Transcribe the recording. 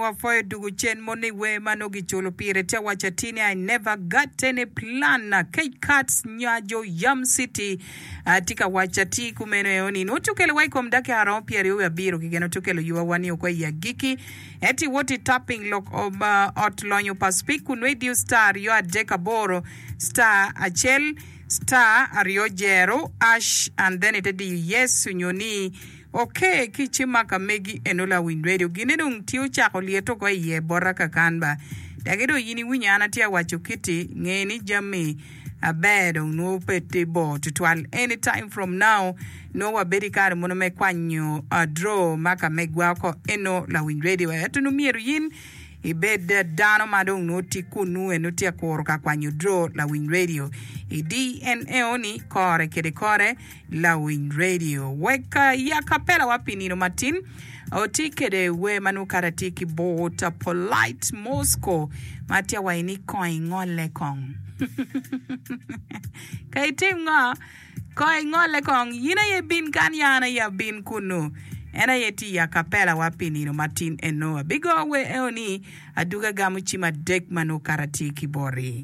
wapwoyo dugu cen mono i wer ma nongo giculo pire tye awaco atir ni I never got any plan Kec Kats nyajo Yam City tye ka waco atir kumeno eo ni nongo tukelo wa i kom dakika romo pyeraryo wiye abiro keken otukelo yuba wa ni oko i agikki ento iwot i tapping lok ot lonyo pa speak kun nongo idiyo star aryo adek aboro star acel star aryo jero ash and then ite diyo yes onyo ni Ok ki ci maka megi eno lawiny radio gine dong tye ocako lyeto oko iye bota kakan ba daki dong yin iwinyo an atye awaco kiti nge ni jami aber dong nwo pe tye bor tutwal any time from now nwo wabedo ikare mono me kwanyo draw maka megwa oko eno lawiny radio ento nwo myero yin ibed dano ma dong nwo tye kunu eno tye akuro ka kwanyo draw lawiny radio i DNA ni kore kede kore Lawiny Radio. Wek ya kapela wa pi nino matin oti kede wer ma nongo kara tye ki bot Polite Moscow ma tye awaci ni kong ingole kong. Ka itim ngo? Kong ingole kong. Yin aye bin kan ya an aye abin kunu. En aye tye i akapela wa pi nino matin eno. Abigo wer eo ni aduga gamo cim adek ma nongo kara tye ki boti.